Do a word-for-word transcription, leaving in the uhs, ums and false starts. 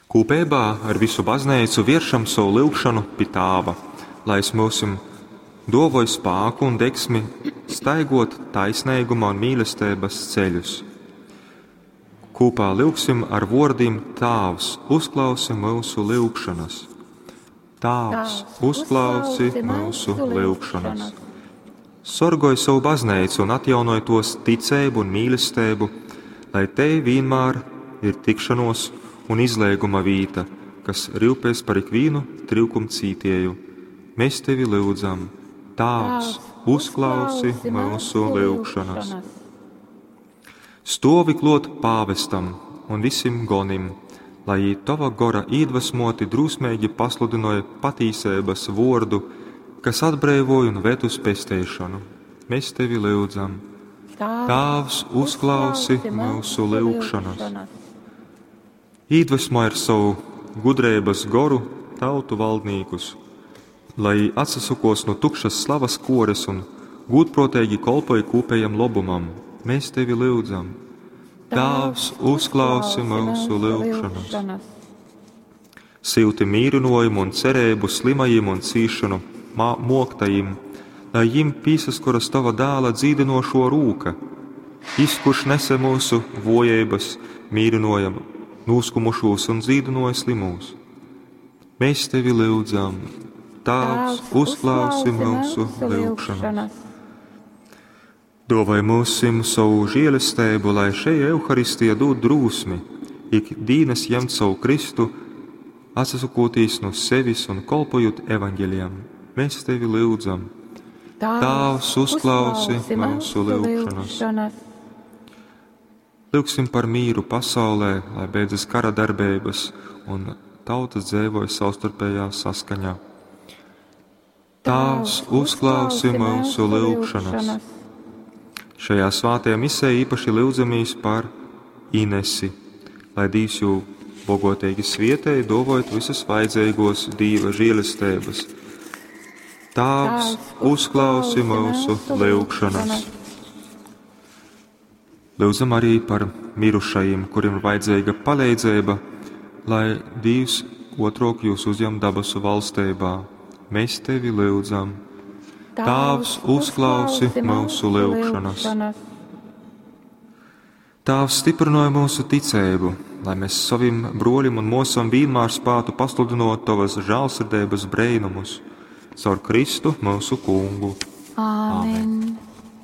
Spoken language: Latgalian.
Kūpeibā ar visu bazneicu vieršam sovu lyugšonu pi Tāva, lai es myusim duovoj spāku un degsmi staiguot taisneiguma un mīlesteibys ceļus. Kūpā lyugsim ar vuordim Tāvs, uzklausi myusu lyugšonys. Tāvs, uzklausi myusu lyugšonys. Sorgoj sovu bazneicu un atjaunoj tuos ticeibu un mīlesteibu, lai tei vienmēr ir tikšanos un izleiguma vīta, kas ryupēs par ikvīnu tryukumcītieju. Mēs tevi lyudzam, Tāvs, uzklausi myusu lyugšonas. Stuovi kluot pāvestam un visim gonim, lai jī tova gora īdvasmoti drūsmeigi pasludynoj patīseibys vuordu, kas atbreivoj un ved uz pesteišonu. Mēs tevi lyudzam. Tāvs, uzklausi myusu lyugšonas. Īdvesmoj ar sovu gudreibys goru tautu valdnīkus, lai jī atsasokos nu tukšas slavas kuores un gūdpruoteigi kolpoj kūpejam lobumam. Mēs tevi lyudzam. Tāvs, uzklausi myusu lyugšonas. Syuti mīrynojumu un cereibu slimajim un cīšanu moktajim, lai jim pīsaskoras tova dāla dzīdinošo rūka. Jis, kurš nese mūsu vojeibas, mīrynoja nūskumušūs un dzīdinoja slimūs. Mēs tevi lyudzam, Tāvs, uzklausi myusu lyugšonas. Dovai mūsim savu žēlesteibu, lai šei Euharistija dod drūsmi, ik dīnas ņemt savu Kristu, atsakotīs no sevis un kolpojot evaņģelijam. Mēs tevi lyudzam. Tāvs, uzklausi mūsu lyugšanas. Lyugsim par mīru pasaulē, lai beidzas kara darbības un tautas dzeivoja savstarpējā saskaņā. Tāvs, uzklausi mūsu lyugšanas. Šajā svētajā misē īpaši lyudzamies par Inesi, lai Dīvs jū bogotīgi svietēj, dovojot visas vajadzīgos Dīva žēlestības. Tāvs, uzklausi mūsu lyugšanas. Lūdzam arī par mirušajiem, kuriem ir vajadzīga palīdzība, lai Dīvs otrok jūs uzņem dabasu valstībā. Mēs tevi lūdzam. Tāvs, uzklausi mūsu lūgšanas. Tāvs, stiprināja mūsu ticību, lai mēs savim broļim un mosam vienmēr spētu pasludinot tavas žēlsirdības brēnumus caur Kristu mūsu kungu. Āmen. Amen.